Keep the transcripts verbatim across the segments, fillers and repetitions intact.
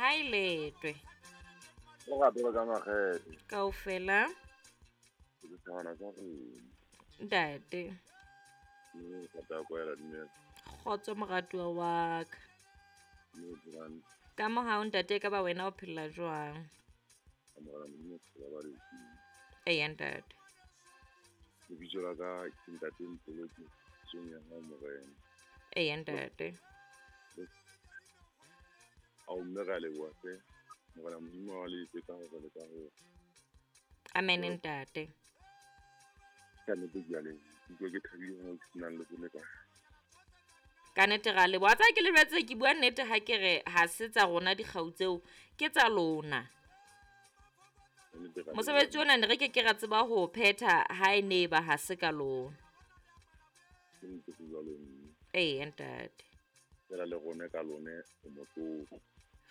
Ha e letwe. Lerato la ka makgethe. Kaofela. Ke thabana ka rona. Ntate. Mme rata kwela dumela. Kgotso moratuwa wa ka. Mme brand. Ka mohau ntate ka ba wena o phela jwang? Amora Modimo phela ba re. Eya ntate. Lebitso la ka ke ntate Mpoloki tsong ya hao morena. Eya ntate. Ao mme ra leboha hle. Morena Modimo wa le etse ka hore le ka hore. Amen ntate. Ka nnete ke a leboha. Ke utlwa ke thabile hore ke senang le bone ka. Ka nnete ra leboha. Wa tseba ke le jwetse ke bua nnete ha ke re ha se tsa rona dikgau tseo ke tsa lona. Mosebetsi ona ne re ke ke ra tseba ho phetha ha e ne ba ha se ka lona. Ke nnete ho jwalo mme. Eya ntate. Fela le rona ka lone o motlotlo.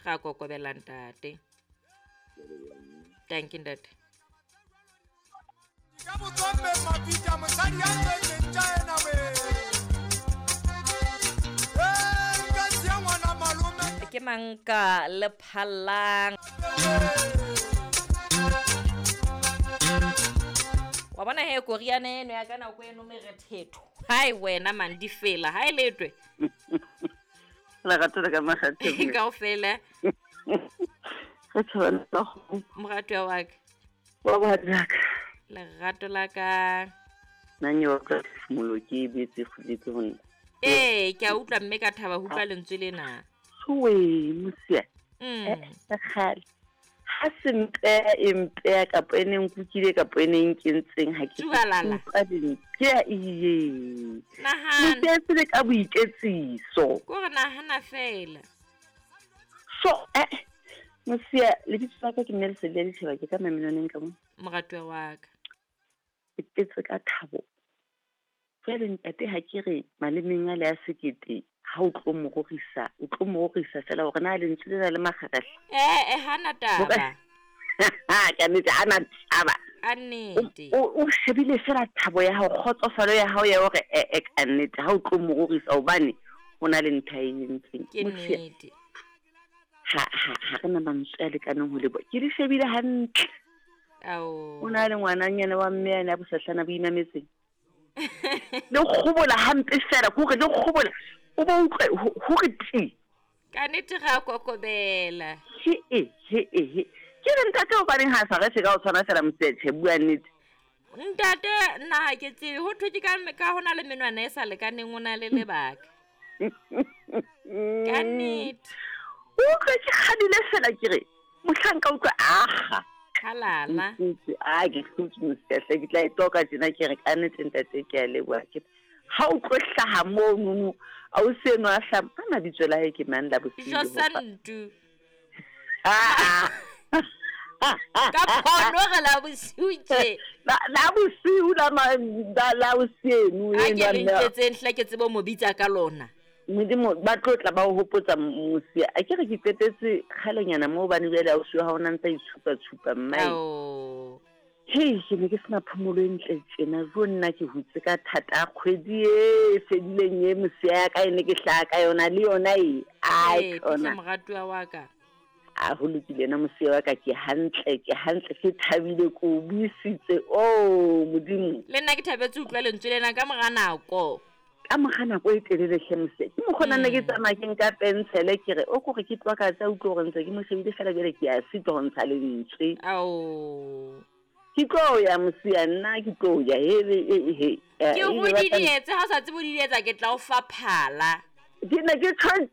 Ra kokobela ntate. Ke a leboha mme. Thank you ntate. Ka botsombe mabitla mosadi ya tswetseng tja ena we. Eh, nka siya ngwana malome. Ke mang ka le phallang? Wa bona he koriana eno ya ka nako eno merethetho. Hai wena man di fela, ha e letwe. Lerato la ka makgethe. Kaofela. Re tshwana ka go. Moratuwa wa ka. Wa bohadi ka. Lerato la ka. Nna wa ka phefumolo ke e betse kguletse ho nna. Ee, ke a utlwa mme ka thaba ho utlwa lentswe lena. Tsoe, mosia. Mm. Eh, kgale. Ha se mpeya e mpeya kapa e neng nkukile kapa e neng kentseng ha ke Tsualala. utlwa lentswe. Ke a iye. Nahana. Mosia tsele ka boiketsiso. Ko re nahana fela. So, eh, mosia lebitso la ka ke mme Lesedi la Ditjhaba ke ka Mamenoneng ka mo. Moratuwa wa ka. Ke tletse ka thabo. Jwale ntate ha ke re malemeng a le a sekete ha o tlo mo rorisa, o tlo mo rorisa fela hore na lentswe lena le makgakgahla. Eh, eh hana taba. Ka nnete hana taba. A nnete. O, o shebile fela thabo ya hao, kgotsofalo ya hao ya hore eh, eh, ka nnete ha o tlo mo rorisa hobane ho na le ntho a e entseng. Ke Mosia, nnete. ha, ha, ha re na mantswe a lekaneng ho leboha. Ke di shebile hantle. Ao. O na le ngwananyana wa mme yane a bosahlana bo imametseng. Le kgobola hampe fela, ke hore le kgobola. O bo utlwe ho- hore ti. Ka nnete ra kokobela. He e, he e, he. Ke re ntate hobaneng ha sa re se ka o tshwana fela Motsepe, bua nnete. Ntate nna ha ke tsebe ho thwe ke ka ka hona le menwana e sa lekaneng o na le lebaka. Ka nnete. O utlwe ke kgadile fela ke re mohlanka utlwe aha. Halala. Ntse, a ke hlotse Motsepe, ke tla e toka tjena ke re ka nnete ntate ke a leboha. Ke ha o tlo hlaha mono, a o seno a hlaha, ka mabitso la hae ke mang la bosiu Jo ho fa? Santu. Ah, ah. Ka phono re la bosiu tje. La la bosiu la ma la la bosiu Ha eno ke a le mme. ntjetseng hle ke tsebe ho mo bitsa ka lona. Modimo ba tlo tla ba o hopotsa mosia. A ke re ke qetetse kgalenyana moo hobane jwale ausi wa hao o na ntsa itshupa tshupa mmae. Ao. Hei, ke ne ke sena phomolo e ntle tjena. Jo nna ke hutse ka thata kgwedi e fedileng e mosia ya ka e ne ke hlaha ka yona le yona e. Ai, Ee, tsona. Pihla moratuwa wa ka. A ho lokile na mosia wa ka ke hantle, ke hantle, ke thabile, ke o buisitse. Oh, Modimo. Le nna ke thabetse ho utlwa lentswe lena ka mora nako. Ka mora nako e telele hle mosia. Ke mokgwa nna ke Mm. tsamaya ke nka pensele ke re o kore ke tloha ka tsa utlwa hore ntse ke mo shebile fela jwale ke a sitwa ho ntsha lentswe. Ao. Ke tlo ya mosia nna ke tlo ya he he he. Ke Eh, o e be ba tla- didietse ha o sa tsebe ho didietsa ke tla o fa phala. Ke ne ke tjho